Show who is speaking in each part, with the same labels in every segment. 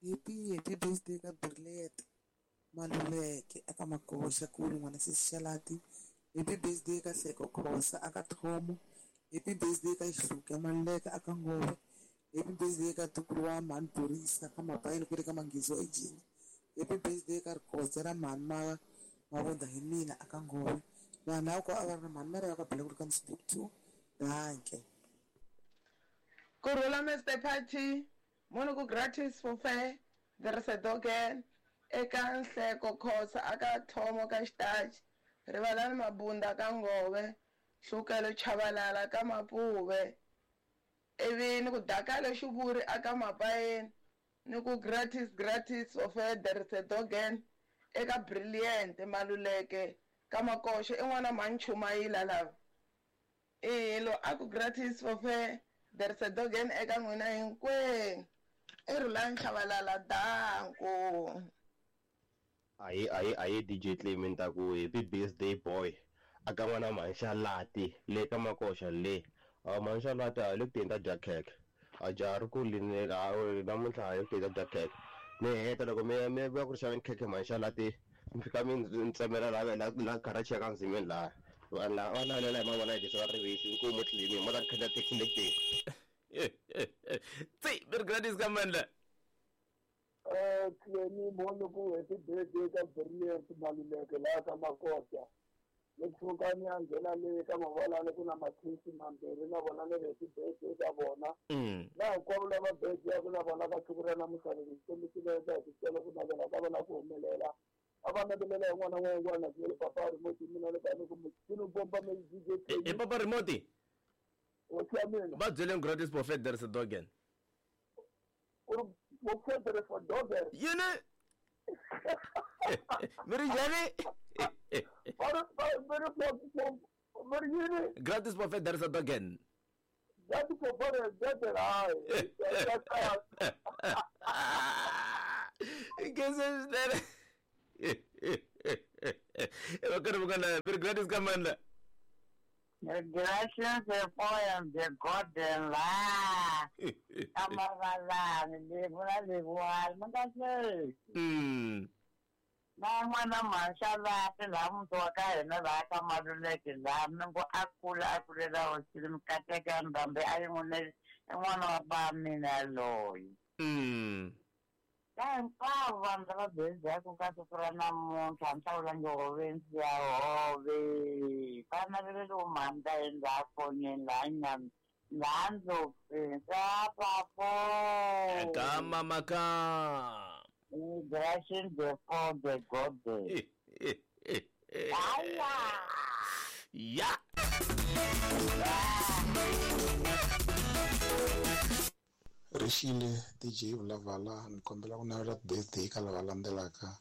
Speaker 1: Happy happy birthday ka Brilliant Maluleke aka Makoxa kulu n'wana sesi Xalati. Happy birthday ka Hleko Khosa aka Thomo. Happy birthday ka Xihluke Maluleke aka Ngove. Happy birthday ka ntukulu wa mhani Borisa ka Mapayeni ku ri ka Manghizo eJini. Happy birthday ka Rikotse ra mhani ma Mavunda hi mina aka Ngove. Vanhu lava ko a va ri na mhani Maria ka Bela ku ri ka Msibuk 2. Danke.
Speaker 2: Kurhula Mister Party, munhu ku gratis for fair, there is a dogen eka Nhleko Khosa aka Thomo ka Xitachi, Rivalani Mabunda ka Ngove, Hlukelo Chabalala ka Mapuve, ivi ni ku Dakalo Xivuri aka Mapayeni, ni ku gratis gratis for fair, there is a dogen eka Brilliant Maluleke ka Makoxo i n'wana mhani Chumayila lava. E lo a ku gratis for fair, there is a dogen eka n'wina hinkwenu. I Rhulani Chabalala danko.
Speaker 3: Aye aye aye DJ Clement ta ku happy birthday boy aka n'wana mhani Xalati le ka Makoxa le a mhani Xalati a le ku teni ta dya khekhe a jaha ri ku lini namuntlha a le ku teni ta dya khekhe ni heta loko mi ya mi ya ku ri xaveni khekhe mhani Xalati mi fika mi ndzi tsemela la la la garage ya ka Nzimeni laha vanhu lava va navelela hi mavona hi leswi va rivisi inkomu Clement mo ta ni khandziya taxi le ku teni.
Speaker 4: Tsi, mi ri gratis ka mandla.
Speaker 5: Clemi mhoni ku happy birthday ka Brilliant Maluleke laha ka Makoxa. Ni tshuka ni ya nghena le ka Mavalani ku na mathesi mambirhi na vona ni ri happy birthday ka vona. Na hinkwavo lava birthday-aku na vona ka siku ra namuntlha loko Xikwembu xi va endla hi xitalo ku navela ka vona ku humelela. A va navelela hi n'wana wa un'wana na le papa remote mina le ka ni ku muchini bomba me DJ
Speaker 4: I
Speaker 5: Clemi.
Speaker 4: papa remote.
Speaker 5: Hosi ya mina.
Speaker 4: Va byeleni gratis prophet there is a dogen.
Speaker 5: Ku ri prophet for dogen.
Speaker 4: Yini? Mi ri njhani?
Speaker 5: Va ri mi ri yini?
Speaker 4: Gratis prophet there is a dogen.
Speaker 5: Gratis prophet there hayi.
Speaker 4: Ngese swinene. Va karhi va kana mi ri gratis ka mandla.
Speaker 6: Gracias poem the golden la. Amavalani levu na levuwani mi nga hleki. Na n'wana mhani laha muti wa ka hina laha ka Maluleke laha mi ngo a kula a kulela hosini mikateko ya Ndhambi a yi n'wi i n'wana wa ba mina yaloye. Ka hinkwavo vanhu lava bezaku ka siku ra namuntlha ni hlawulangi hove ndzi ya hove va naveleliwe mhani ta yini laha fonini laha nyami laha ndlopfini ka papo.
Speaker 4: Ka mama ka.
Speaker 6: Gracias the for the golden. Aya.
Speaker 4: Ya.
Speaker 7: Rixile DJ Vulavala ni kombela ku navela birthday ka lava landzelaka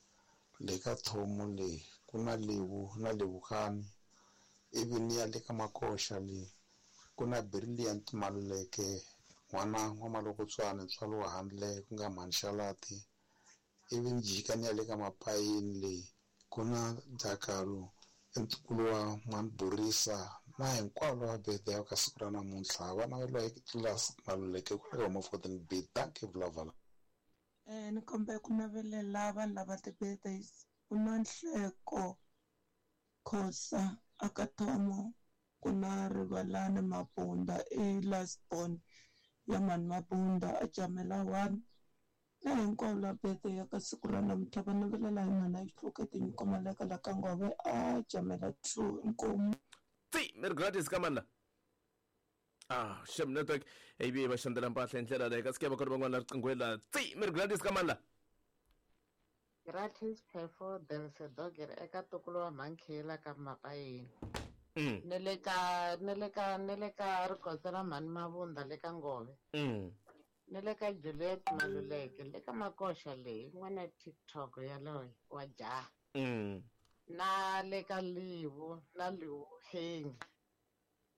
Speaker 7: le ka Thomo le ku na Levu na Levukani ivi ni ya le ka Makoxa le ku na Brilliant Maluleke n'wana wa Malokotswana ntswalo wa handle ku nga mhani Xalati ivi ni jika ni ya le ka Mapayeni le ku na Dakalo ntukulu wa mhani Borisa na hinkwavo lava birthday ka siku ra namuntlha va naveliwa hi Tlilasi Maluleke ku le ka Home 14 B. Dankie Vulavala.
Speaker 8: Ni kombela ku navelela vanhu lava ti-birthdays ku na Nhleko Khosa aka Thomo ku na Rivalani Mabunda i last born ya mhani Mabunda a Jamela 1 na hinkwavo lava birthday ya ka siku ra namuntlha va navelela hi mhani a Xihluke Tinyiko Maleka la ka Ngove a Jamela 2 inkomu.
Speaker 4: Tsi, mi ri gratis ka mandla. Ah, Shem network ivi va xandzela mpahla hi ndlela leyi kasi ke va kona van'wana la riqingweni la. Tsi, mi ri gratis ka mandla.
Speaker 9: Gratis perfo del sedoger eka ntukulu wa mhankhela ka Mapayeni. Ne le ka ne le ka ne le ka Rikotse ra mhani Mavunda le ka Ngove. Ne le ka Juliet Maluleke le ka Makoxa leyi n'wana TikTok yaloye wa jaha. Na le ka Livu na Liuheng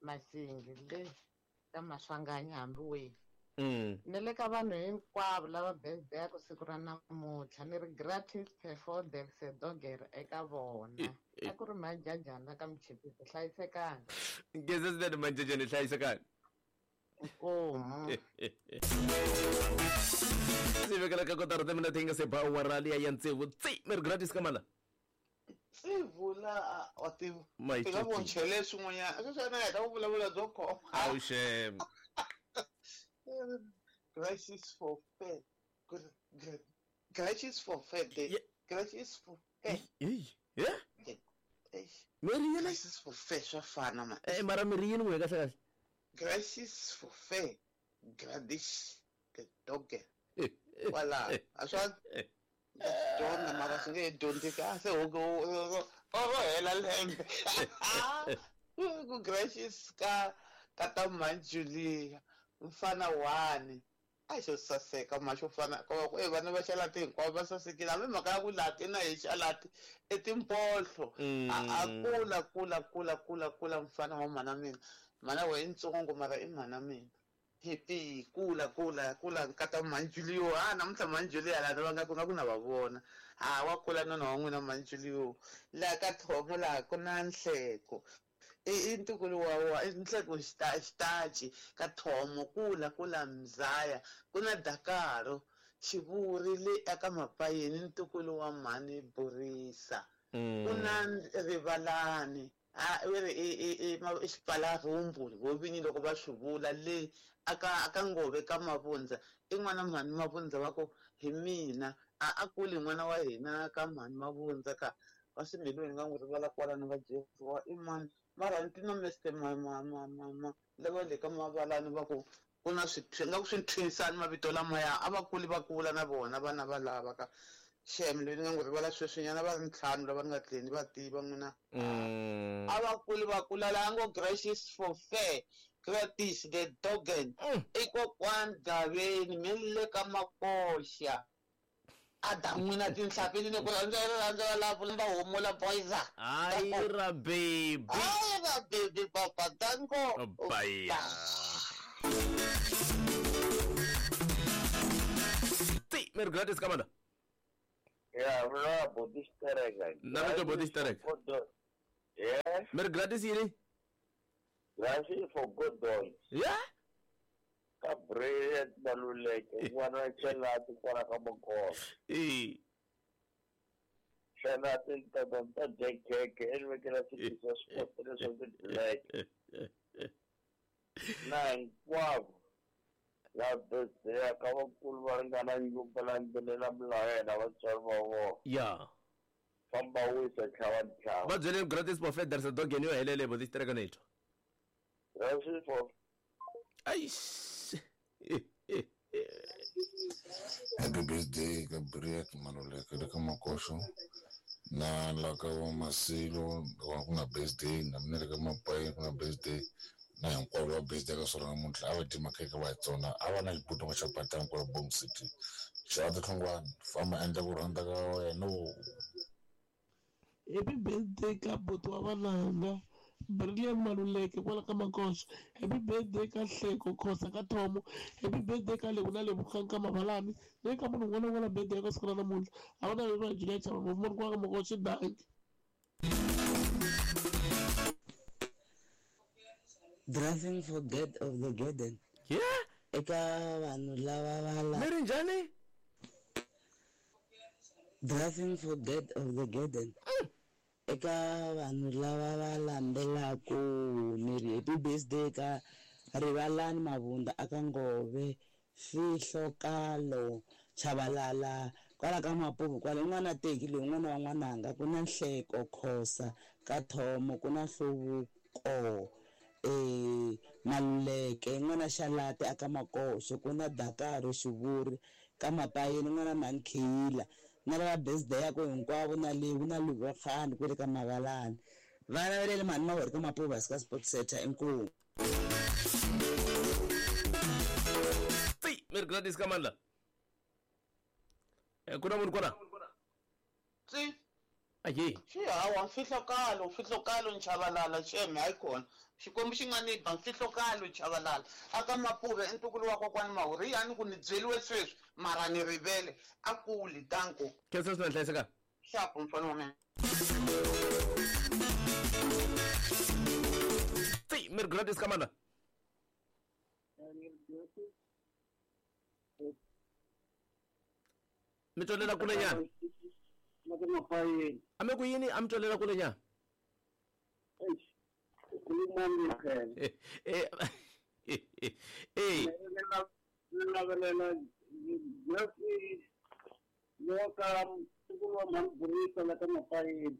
Speaker 9: Masingi le ka Maswanganyi hambi wihi. Ne le ka vanhu hinkwavo lava birthday ku siku ra namuntlha ni ri gratis perfo del sedoger eka vona. A ku ri Manjajana ka Mchipisi hlayisekani.
Speaker 4: Ngeze swinene Manjajana hlayisekani.
Speaker 9: Inkomu.
Speaker 4: Sive vekela ka kotara timinete yi nga se ba awara liya ya tsevu. Tsi mi ri gratis ka mala.
Speaker 10: Sivula wa tiva. I nga vo chele swin'wanyana. Sweswi na heta ku vulavula byo khoma.
Speaker 4: Awu xem.
Speaker 10: Gratis for fair. Gratis for fair. Gratis for fair.
Speaker 4: Yeah? Meri yini?
Speaker 10: Gratis for fair swa fana ma.
Speaker 4: Mara meri yini n'we kahle kahle?
Speaker 10: Gratis for fair. Gradish the dog. Wala. Aswa dyondza mara swi nge dyondzeki a se ro hela lembe. Ku gracious ka ta Manjulia mfana wani a xo saseka ma xo fana ku vana va xalati hinkwavo va sasekile hambi mhaka ya ku lati na hi xalati i timpohlo. A kula kula kula kula kula mfana wa mhana mina. Mhana wa i ntsongo mara i mhana mina. Happy kula kula kula nkata Manjulio a namuntlha Manjulio la va nga ku nga ku na va vona a wa kula nona wa n'wina Manjulio la ka thomo la ku na nhleko i ntukulu wa nhleko xitachi ka thomo kula kula mzaya ku na Dakaro xivuri le aka mapayeni ntukulu wa mhani Borisa ku na Rivalani a i xipalarhumbu vo vinyi loko va swi vula le aka Ngove ka Mavundza i n'wana mhani Mavundza va ku hi mina a kuli n'wana wa hina ka mhani Mavundza ka va swimbilweni nga n'wi rivala kwalano va Jesu i mani mara ni na Mr ma lava le ka Mavalani va ku ku na swi nga ku swi thwinisani mavito lamaya a va kuli va kula na vona vana va lava ka xem leyi ni nga n'wi rivala sweswinyana va ri ntlhanu lava ni nga tlheli va tiva n'wina. A va kuli va kula laha ngo gracious for fair gratis the dogen i kokwani Gaveni mi le ka Makoxa a da n'wina tinhlampfi ni ku rhandza lava va humula boyza.
Speaker 4: Ayira baby.
Speaker 10: Ayira baby papa danko.
Speaker 4: Bye. Ti mer gratis kamanda.
Speaker 11: Yeah, vula body stereka.
Speaker 4: Na vito body stereka.
Speaker 11: Yeah.
Speaker 4: Mer gratis yini?
Speaker 11: Gratis for good dogs.
Speaker 4: Yeah.
Speaker 11: Ka bread Maluleke n'wana xelati kwala ka Makosa.
Speaker 4: Eh.
Speaker 11: Xelati ta ta dya khekhe envekela swilo swa swikotela swa ti-black. Na hinkwavo la birthday ka vakulu va ringana nyumba landzelela milawu ya yena vatswari va vona.
Speaker 4: Yeah.
Speaker 11: Famba wisa tlhava ntlhava.
Speaker 4: Va byele gratis for fair there's a dog yo helele body stereka netho.
Speaker 11: Gratis for
Speaker 4: Aish.
Speaker 7: Happy birthday ka Briet Maluleke le ka Makoxo na la ka va Masilo ku na birthday na mina le ka Mapayi ku na birthday na hinkwavo va birthday ka swona namuntlha a va dyi makhekhe va hi tsona a va na xibutongo xa patani kwala Bong City xa tihlongwana famba endla ku rhandza ka wena.
Speaker 12: Happy birthday ka buti wa vananga Brilliant Maluleke kwala ka Makoxa. Happy birthday ka Hleko Khosa ka Thomo. Happy birthday ka Lebu na Lebogang ka Mabalani. Le ka munhu un'wana na un'wana birthday ka siku ra namuntlha. A va na va Julia Chava ngopfu kwala ka Makoxa danki.
Speaker 13: Driving for dead of the garden.
Speaker 4: Yeah.
Speaker 13: Eka vanhu lava va la.
Speaker 4: Meri njhani?
Speaker 13: Driving for dead of the garden. Eka vanhu lava va landzelaka ni ri happy birthday ka Rivalani Mavunda aka Ngove Fihlokalo Chabalala kwala ka Mapuvu kwala un'wana teki loyi un'wana wa n'wananga ku na Nhleko Khosa ka Thomo ku na Hluvuko Maluleke n'wana Xalati aka Makoxo ku na Dakaro Xivuri ka Mapayeni n'wana Mankhiyila na lava birthday ya ku hinkwavo na Lewu na Luvakhani kwele ka Mavalani vana va le mhani Maweri ka Mapuva ka Sports Center inkomu.
Speaker 4: Ti mer Gladys Kamanda. Ku na munhu kona?
Speaker 10: Tsi.
Speaker 4: Ayi.
Speaker 10: Xi hawa mfihlokalo nchavalala xeme hayi kona. Xikwembu xi nga ni ba mfihlokalo chavalala. Aka Mapuve i ntukulu wa kokwani Mahuri yani ku ni byeliwe sweswi mara ni rivele a kuli danko.
Speaker 4: Khensa swinene hlayiseka.
Speaker 10: Xapu mfana wa mina.
Speaker 4: Ti mer Gladys Kamanda. Mi twelela kule nyana.
Speaker 5: Na ka Mapayeni.
Speaker 4: A mi ku yini a mi twelela kule nyana?
Speaker 5: Eish. Khulumani phela.
Speaker 4: Eh eh.
Speaker 5: Ni navelela Jesse loka ntukulu wa mhani Burisa la ka Mapayeni.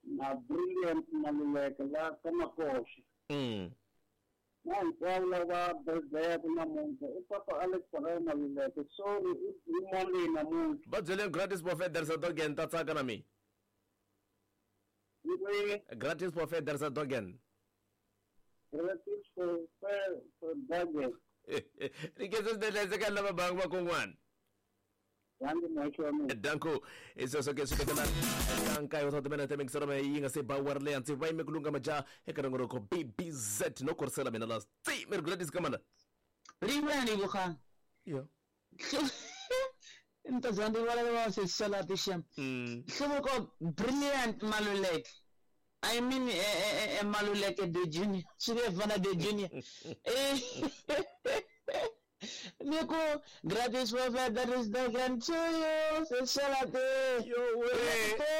Speaker 5: Na Brilliant Maluleke la ka Makoxa. Na hinkwavo lava birthday-aka namuntlha i papa Alex Farai Maluleke. Sorry, i Monday namuntlha.
Speaker 4: Va byeleni Gratis Buffet there is a dog and ta tsaka na mina. Gratis Buffet there is a dog and.
Speaker 5: Gratis Buffet for dog.
Speaker 4: Ri khensa swinene hlayiseka lava bangi va kun'wana. Danko i sweswo ke swi tekela ka nkaye wa timinete mingiselo me yi nga se ba wari leya ndzi va yime ku lunga majaha eka nongonoko bbz no korisela mina la tsi mi ri Gladys Kamana
Speaker 14: Rin'wana ni vukhanga.
Speaker 4: Yo.
Speaker 14: Ni ta za ndzi vula va se salati xem. Hluvuko Brilliant Maluleke. I mean Maluleke the Junior. Swi nge fana the Junior. Eh Niku gratis for that is the grand to you. Se salati.
Speaker 4: Yo we.